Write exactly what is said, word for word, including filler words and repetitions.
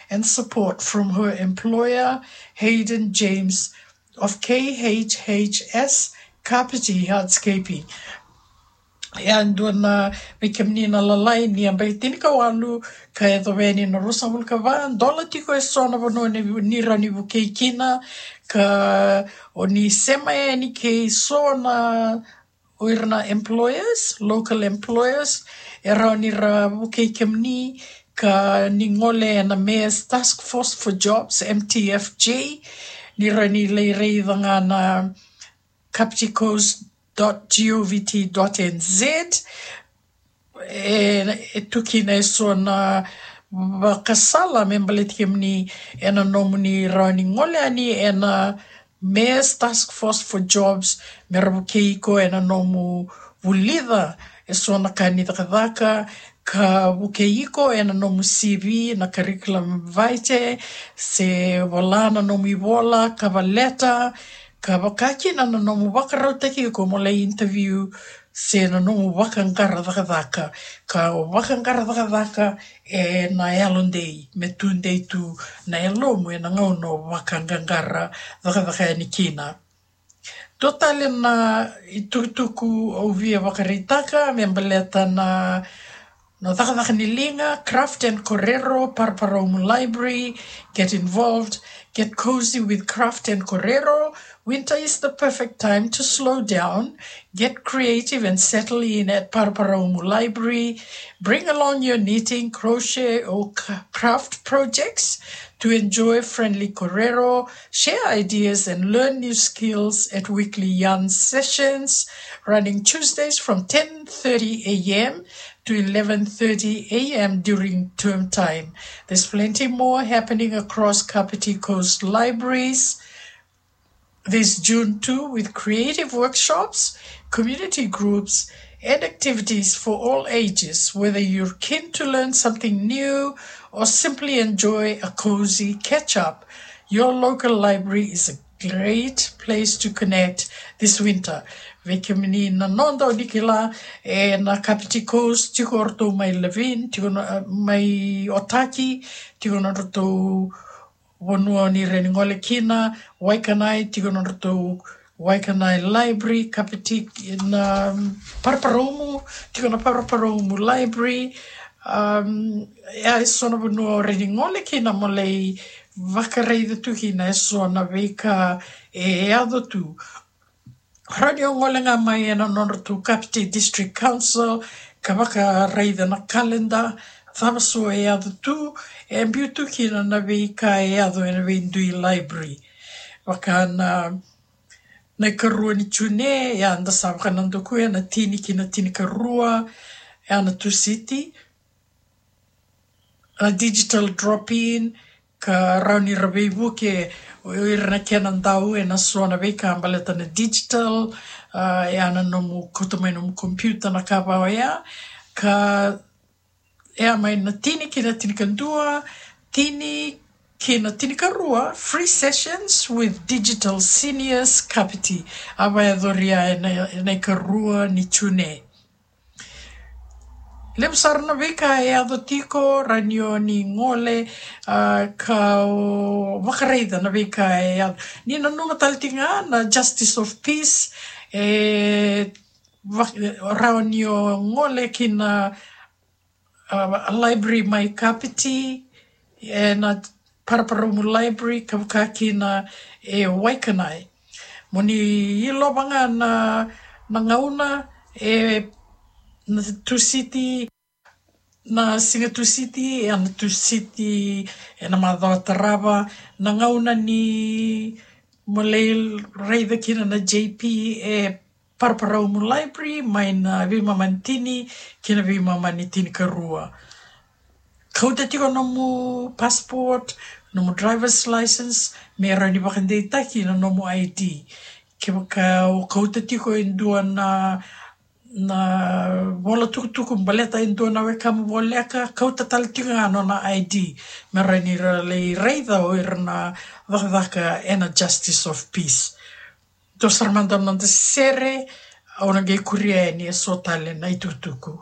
and support from her employer, Hayden James of K H H S Kapiti Hardscaping. Ia, dua na, vei kemuni na lalai ni yabaki tinikawalu ka yacova yani na ruasagavulu ka va, dola tiko e so na vanua ni, ni rawa ni vukei kina, ka o ni sema yani kei so na, o ira na employers, local employers, e rawa ni ra vukei kemuni ka ni gole ena Mayor's Task Force for Jobs, M T F J, ni rawa ni lai raica ga na kapiti coast dot govt dot N Z. E, e tu kina e so na vakasala me baleti kemuni ena nomuni rawa ni gole yani ena Mayor's Task Force for Jobs, me ra vukei iko ena nomu vulica e so na ka ni cakacaka, ka vukei iko ena nomu C V, na curriculum vitae, se vola na nomu ivola, cover letter, ka vaka kina na nomu vakarautaki iko mo lai interview, se na nomu vakaqara cakacaka. Ka o vakaqara cakacaka ena yalodei, me tudei tu na yalomu ena gauna o vakaqaqara cakacaka yani kina. Dua tale na itukutuku au via vakaraitaka me baleta na, na cakacaka ni liga, Craft and Corero, Paraparaumu Library. Get involved. Get cozy with Craft and Corero. Winter is the perfect time to slow down. Get creative and settle in at Paraparaumu Library. Bring along your knitting, crochet, or c-, craft projects to enjoy friendly Corero, share ideas, and learn new skills at weekly yarn sessions, running Tuesdays from ten thirty a m to eleven thirty a m during term time. There's plenty more happening across Kapiti Coast Libraries this June too, with creative workshops, community groups, and activities for all ages. Whether you're keen to learn something new or simply enjoy a cozy catch-up, your local library is a great place to connect this winter. Vei kemuni na noda, o ni kila, e, na Kapiti Coast, tiko o ratou mai Levin, tiko na, mai Otaki, tiko na ratou vanua ni rawa ni gole kina, Waikanae, tiko na ratou Waikanae Library, Kapiti, na Paraparaumu, tiko na Paraparaumu Library. Um, e, e so na vanua o rawa ni gole kina mo lai vakaraica tu kina e so na veika e yaco tu. Rawa ni o gole ga mai ena nodratou Kapiti District Council ka vakaraica na calendar, cava so e yaco tu, e biu tu kina na veika e yaco ena veidui library. Vaka na, na ikarua ni June, ia da sa vakanadakuya na tini ki na tinikarua, ia na Tusiti, na digital drop-in, ka rawa ni ra veivuke o ira na kena dau ena so na veika baleta na digital, a, ia na nomu kauta mai nomu computer, na ka vaka oya, ka, ia, mai na tini ki na tinikadua, tini ki na tinikarua, free sessions with Digital Seniors Kapiti. A vakayacoria ena, ena ikarua ni June. Levu sara na veika e yaco tiko, rawa ni o ni gole, a, ka o vakaraica na veika e yaco. Ni nanuma tale tiko ga na Justice of Peace, e, va-, rawa ni o gole ki na, a, library mai Kapiti, e, na Paraparaumu Library, ka vaka kina e Waikanae. Mo ni ilova ga na, na gauna, e, na Tusiti, na siga Tusiti, e, na Tusiti, e, na macawa tarava, na gauna ni mo lai raica kina na J P e Paraparaumu Library, mai na veimama ni tini ki na veimama ni tinikarua. Kauta tiko nomu passport, nomu driver's license, me rawa ni vakadeitaki na nomu I D. Kevaka o kauta tiko e dua na, na vola tukutuku baleta e dua na wekamu voleka, kauta tale tiko ga nona I D. Me rawa ni ra lai raica o ira na cakacaka ena Justice of Peace. Dua sara mada na noda sere, au na qai kuria yani e so tale na itukutuku.